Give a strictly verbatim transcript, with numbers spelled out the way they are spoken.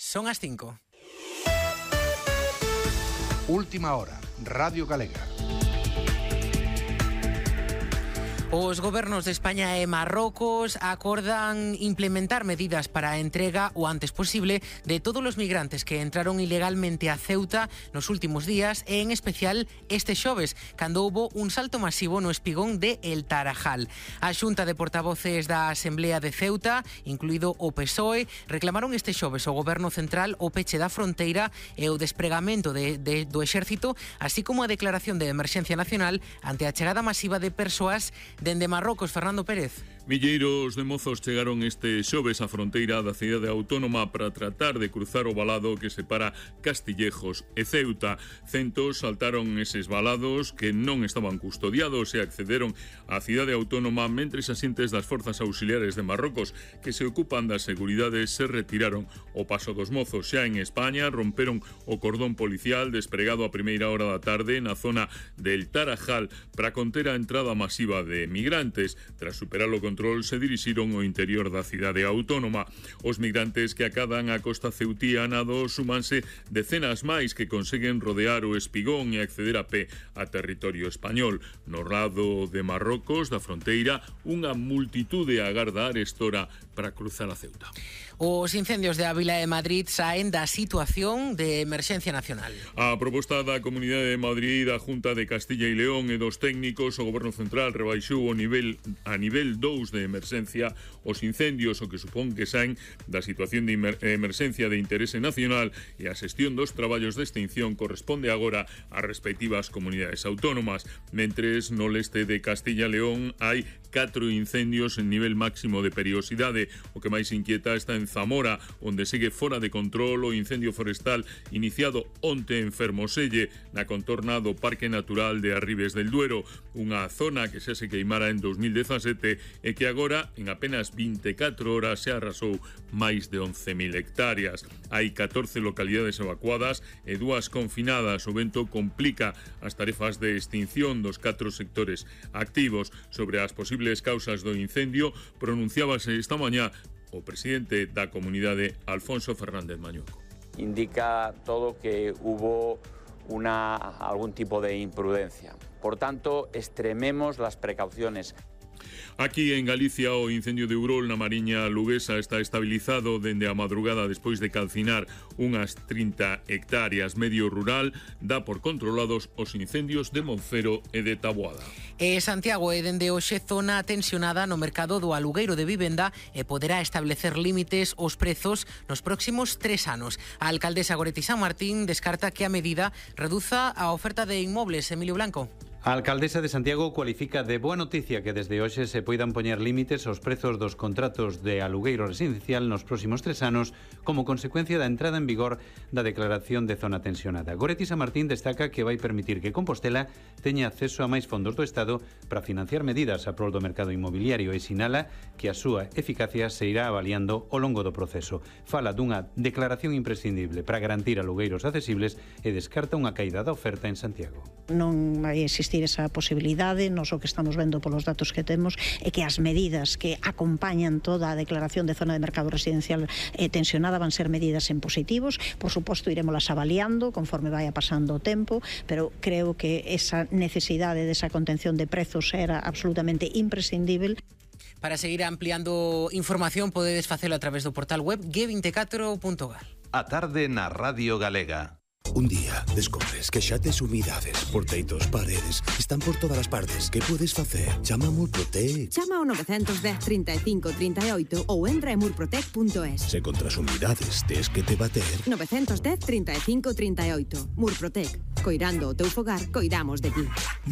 Son as cinco. Última hora, Radio Galega. Os gobernos de España e Marrocos acordan implementar medidas para a entrega o antes posible de todos os migrantes que entraron ilegalmente a Ceuta nos últimos días e en especial este xoves, cando houbo un salto masivo no espigón de El Tarajal. A Xunta de Portavoces da Asemblea de Ceuta, incluído o P S O E, reclamaron este xoves ao Goberno Central o peche da fronteira e o despregamento de, de, do exército, así como a declaración de emerxencia nacional ante a chegada masiva de persoas dende Marrocos. Fernando Pérez. Milleiros de mozos chegaron este xoves á fronteira da cidade autónoma para tratar de cruzar o valado que separa Castillejos e Ceuta. Centos saltaron eses valados que non estaban custodiados e accederon á cidade autónoma, mentres asentes das forzas auxiliares de Marrocos que se ocupan das seguridades se retiraron o paso dos mozos. Xa en España romperon o cordón policial despregado a primeira hora da tarde na zona del Tarajal para conter a entrada masiva de migrantes. Tras superar o control se dirixiron ao interior da cidade autónoma. Os migrantes que acadan a costa ceutía nado súmanse decenas máis que conseguen rodear o espigón e acceder a pé a territorio español. No lado de Marrocos, da fronteira, unha multitude agarda a arestora para cruzar a Ceuta. Os incendios de Ávila e Madrid saen da situación de emerxencia nacional. A proposta da Comunidade de Madrid, a Junta de Castilla e León e dos técnicos, o Goberno Central rebaixou o nivel a nivel dous de emerxencia os incendios, o que supón que saen da situación de emerxencia de interese nacional, e a xestión dos traballos de extinción corresponde agora ás respectivas comunidades autónomas. Mentres no leste de Castilla e León hai catro incendios en nivel máximo de perigosidade. O que máis inquieta está en Zamora, onde segue fora de control o incendio forestal iniciado onte en Fermoselle, na contorna do Parque Natural de Arribes del Duero, unha zona que xa se queimara en dos mil dezasete e que agora, en apenas vinte e catro horas, se arrasou máis de once mil hectáreas. Hai catorce localidades evacuadas e dúas confinadas. O vento complica as tarefas de extinción dos catro sectores activos. Sobre as posibles causas do incendio, pronunciábase esta mañá o presidente da comunidade, Alfonso Fernández Mañuco. Indica todo que hubo una, algún tipo de imprudencia. Por tanto, extrememos las precauciones. Aquí en Galicia o incendio de Urol na Mariña Luguesa está estabilizado dende a madrugada despois de calcinar unhas trinta hectáreas. Medio rural dá por controlados os incendios de Monfero e de Taboada. E Santiago é dende hoxe zona tensionada no mercado do alugueiro de vivenda e poderá establecer límites aos prezos nos próximos tres anos. A alcaldesa Goretti San Martín descarta que a medida reduza a oferta de inmobles. Emilio Blanco. A alcaldesa de Santiago cualifica de boa noticia que desde hoxe se poidan poñer límites aos prezos dos contratos de alugueiro residencial nos próximos tres anos como consecuencia da entrada en vigor da declaración de zona tensionada. Goretti San Martín destaca que vai permitir que Compostela teña acceso a máis fondos do Estado para financiar medidas a prol do mercado inmobiliario e sinala que a súa eficacia se irá avaliando ao longo do proceso. Fala dunha declaración imprescindible para garantir alugueiros accesibles e descarta unha caída da oferta en Santiago. Non vai existir esa posibilidade. Nos o que estamos vendo polos datos que temos é que as medidas que acompañan toda a declaración de zona de mercado residencial eh, tensionada van ser medidas en positivos. Por suposto, iremoslas avaliando conforme vaya pasando o tempo, pero creo que esa necesidade desa contención de prezos era absolutamente imprescindible. Para seguir ampliando información podedes facelo a través do portal web ge vinte e catro punto gal. A tarde na Radio Galega. Un día descubres que xa tes humidades por teitos, paredes, están por todas as partes. Que podes facer? Chama a Murprotec. Chama ao nove un cero, trinta e cinco, trinta e oito ou entra en murprotec punto es. Se contra as humidades tes que te bater. nove un cero, trinta e cinco, trinta e oito. Murprotec. Coirando o teu fogar, coidamos de ti.